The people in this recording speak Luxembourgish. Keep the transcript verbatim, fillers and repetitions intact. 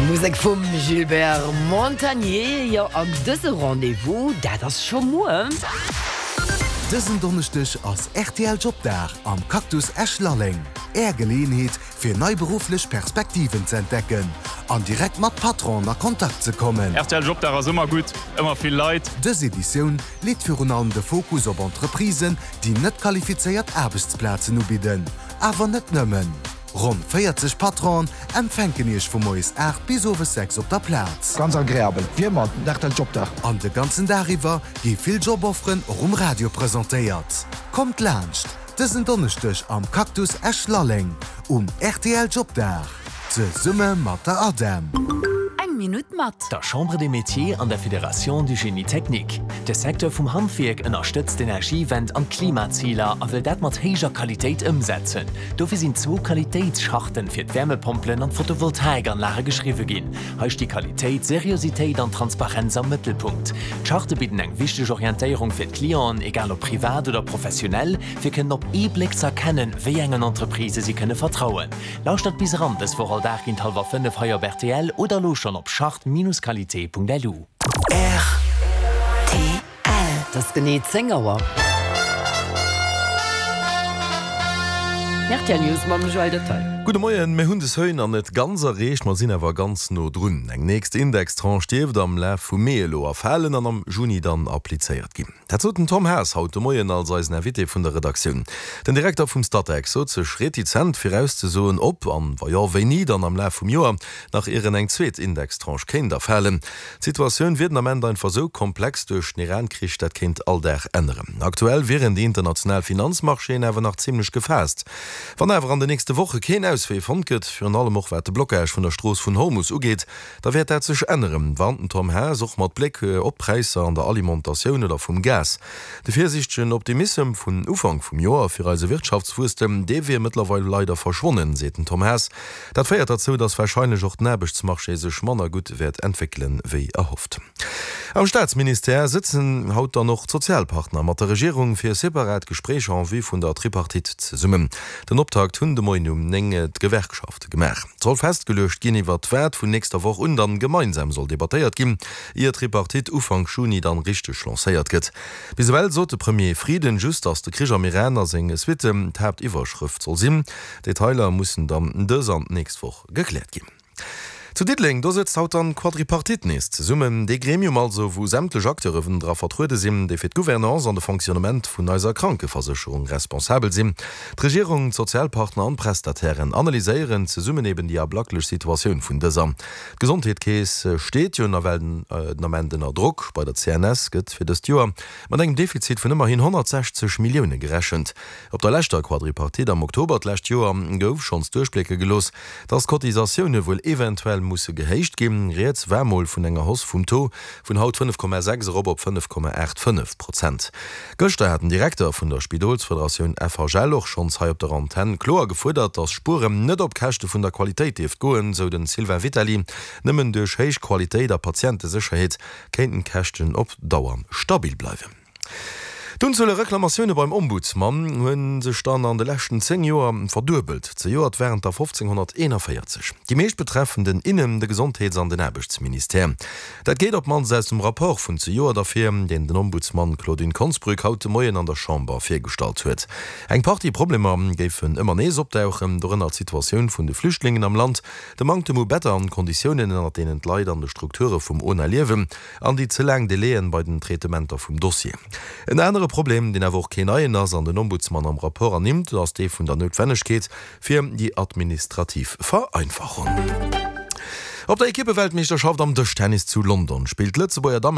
Musek vum Gilbert Montagné, jo an dëse Rendez-vous, dat ass scho muer. Dësen Donneschdeg ass rtl Jobdag am Cactus Esch-Lalleng. Är Geleeënheet, fir nei berufflech Perspektiven ze entdecken an direkt mat Patronen a Kontakt ze kommen. Rtl Jobdag ass ëmmer gutt, ëmmer vill Leit. Dës Editioun leet virun allem de Fokus op Entreprisen, déi net qualifizéiert Aarbechtsplazen ubidden. Awer net nëmmen. Ronn véierzeg Patronen empfänken Iech vu moies aacht bis owes sechs op der Plaz. Ganz agreabel, wéi ëmmer den rtl Jobdag. An de ganzen Dag iwwer gi vill Jobofferen och um Radio presentéiert. Kommt laanscht dësen Donneschdeg am Cactus Esch-Lalleng um rtl Jobdag, zesumme mat der ADEM. Eng Minutt mat. Der Chambre des Métiers an der Fédération du Génie Technique. De Secteur vum Handwierk ënnerstëtzt d'Energiewend an d'Klimaziler a wëll dat mat héijer Qualitéit ëmsetzen. Dofir sinn zwou Qualitéitscharten fir d'Wärmepompelen an d'Photovoltaikanlage geschriwwe ginn. Hei sti Qualitéit, Seriositéit an Transparenz am Mëttelpunkt. D'Charte bidden eng wichteg Orientéierung fir d'Clienten, egal ob privat oder professionell, fir kënnen op ee Bléck ze erkennen, wéi engen Entreprisë si kënne vertrauen. Lauschtert bis eran dës Woch all Dag géint hallwer fënnef hei op rtl oder elo schonn op charte-qualité.lu. Rtl. Et ass genee zéng Auer. Rtl News mam Joël Detaille. Gudde Moien, Mir hunn de Seuil nach net ganz erreecht, ma sinn awer ganz no drun. Eng nächst Indextranche dierft am Laf vum Mee elo erfalen an am Juni dann applizéiert ginn. Dat sot den Tom Haas haut de Moien als eisen Invité vun der Redaktioun. Den Direkter vum Statec sot sech retizent virauszesoen, ob an, wa jo, wéini dann am Laf vum Joer nach ieren eng zweet Indextranche kéint erfalen. D'Situatioun wier den Ament einfach esou komplex duerch den Iran-Krich, dat kéint all Dag änneren. Aktuell wieren déi international Finanzmarchéen awer nach zimmlech gefaasst. Wann awer an den nächste Woche keen Auswee fonnt gëtt, virun allem och wat de Blockage vun der Strooss vun Hormus ugeet, da wäert dat sech änneren, warnt den Tom Haas och mat Bléck op d'Präisser an der Alimentatioun oder vum Gas. De virsiichtegen Optimissem vun Ufank vum Joer fir eise Wirtschaftswuesstem, dee wier mëttlerweil leider verschwonnen, seet den Tom Haas. Dat féiert derzou, datt warscheinlech och den Aarbechtsmarché sech manner gutt wäert entwéckelen, wéi erhofft. Am Staatsministère sëtzen haut dann och d'Sozialpartner mat der Regierung fir separat Gespréicher en vue vun der Tripartite zesummen. Den Optakt hunn de Moien um néng d'Gewerkschafte gemaach. Et soll festgeluecht ginn, iwwert wat vun nächster Woch un dann gemeinsam soll debattéiert ginn, ier d'Tripartite Ufank Juni dann richteg lancéiert gëtt. Bis ewell sot de Premier Frieden just, datt de Krich am Iran a seng Suitten d'Haaptiwwerschrëft soll sinn. Detailer mussen dann dës an d'nächst Woch gekläert ginn. Zu Diddeleng, do sëtzt haut dann d'Quadripartite nees zesummen. Dee Gremium also, wou sämtlech Acteuren dra vertruede sinn, déi fir d'Gouvernance an de Fonctionnement vun eiser Krankeversécherung responsabel sinn. D'Regierung, d'Sozialpartner an d'Prestatairen analyséieren zesummen eben déi ablacklech Situatioun vun dëser. D'Gesondheetkeess steet jo nawell den Ament ënner Drock. Bei der C N S gëtt fir dëst Joer mat engem Defizit vun ëmmerhin honnertsechzeg Millioune gerechent. Op der leschter Quadripartite am Oktober d'lescht Joer gouf schonns duerchblécke gelooss, dass d'Cotisatioune wuel eventuell musse gehéicht ginn. Rieds war mol vun enger Hausse vum Taux vun haut fënnef Komma sechs erop op fënnef Komma aacht fënnef Prozent. Gëschter hat den Direkter vun der Spidolsfederatioun F H L och schonns hei op der Antenn kloer gefuerdert, dass Spueren net op Käschte vun der Qualitéit dierft goen, sou den Sylvain Vitali. Nëmmen duerch héich Qualitéit a Patientesécherheet kéinten d'Käschten op Dauer stabil bleiwen. D'Unzuel u Reklamatioune beim Ombudsman hu sech dann an de leschten zéng Joer verduebelt. Zejoert waren et der fofzénghonnerteenavéierzeg. Déi meescht betreffen den Innen-, de Gesondheets an den Aarbechtsministère. Dat geet op d'mannst aus dem Rapport vun zejoert ervir, deen den Ombudsman Claudine Konsbrück haut de Moien an der Chamber virgestallt huet. Eng Partie Problemer géifen ëmmer nees opdauchen, dorënner d'Situatioun vun de Flüchtlingen am Land, de Manktem u Better an d'Konditiounen, ënner deenen d'Leit an de Strukture vum O N A liewen, an déi ze laang Delaien bei den Traitementer vum Dossier. En anere Problem, deen awer och keen neien ass an den Ombudsman am Rapport ernimmt, ass dee vun der Noutwennegkeet fir déi administrativ Vereinfachung. Op der Ekippeweltmeeschterschaft am Dëschtennis zu London spillt d'Lëtzebuerger Dammen.